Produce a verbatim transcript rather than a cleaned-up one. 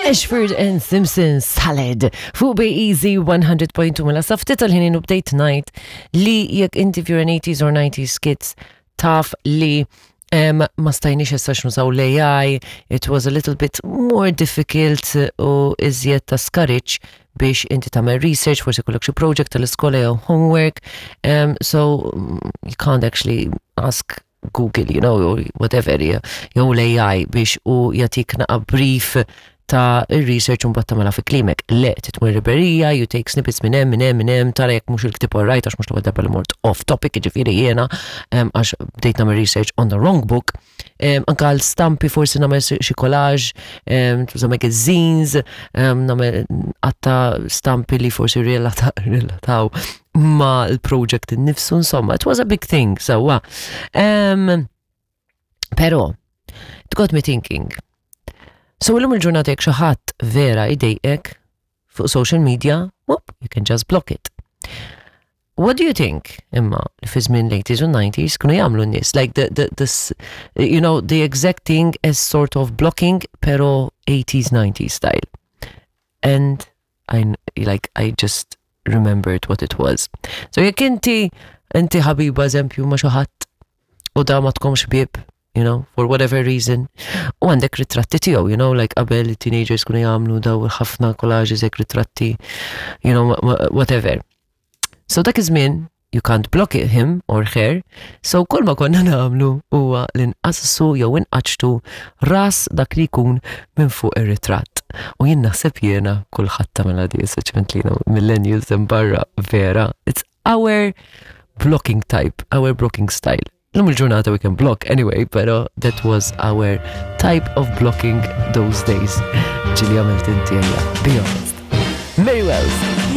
Ashford and Simpson Salad fuq Bay Easy one hundred point two. Mela sa ftit tal-ħin u bdejt ngħid li jekk inti, if you're an eighties or nineties kids, taf li um, ma stajniex issa nużaw l-A I, it was a little bit more difficult u iżjed ta' skariċ biex inti tagħmel research, forsi kollok xi project tal-iskola jew homework, um, so mm, you can't actually ask Google, you know, or whatever, jew l-A I biex u jagħtik naqa brief ta' il-research u mbagħad tagħmilha fi klimek. Le, tmur librerija, you take snippets minn hemm, minn hemm, minn hemm, tara jekk mhux il-ktieb alright, għax mhux l-ewwel darba li mort off topic, jiġifieri jiena, em, għax bdejt nagħmel research on the wrong book. Em, Anka l-stampi forsi nagħmel xi collage, em, tuża magazines, em, nagħmel għatta stampi li forsi relata- relataw ma l-project innifsu, insomma, it was a big thing, sewwa. Um, pero, it got me thinking. So illum il-ġurnata jekk xi ħadd vera idejqek fuq social media, whoop, you can just block it. What do you think, imma, li fi żmien l-eighties u nineties kienu jagħmlu n-nies? Like the, the, this, you know, the exact thing as sort of blocking, pero eighties, nineties style. And I, like, I just remembered what it was. So jekk inti, inti ħabiba eżempju ma' xi ħadd u da ma tkomx ħbieb, you know, for whatever reason. U għandek ritratti tiegħu, you know, like qabel teenagers kienu jagħmlu daw ħafna collages hekk ritratti, you know, whatever. So dak iż-żmien you can't block it, him or her, so kull ma konna nagħmlu huwa li nqassu jew inqaċtu ras dak li jkun minn fuq ir-ritratt. U jien naħseb jiena kulħadd tagħmilha di, speċjalment li millennials hemm barra vera. It's our blocking type, our blocking style. Illum il-ġurnata we can block anyway, pero that was our type of blocking those days. Ġieli għamilt inti għalija, be honest. Mary Wells.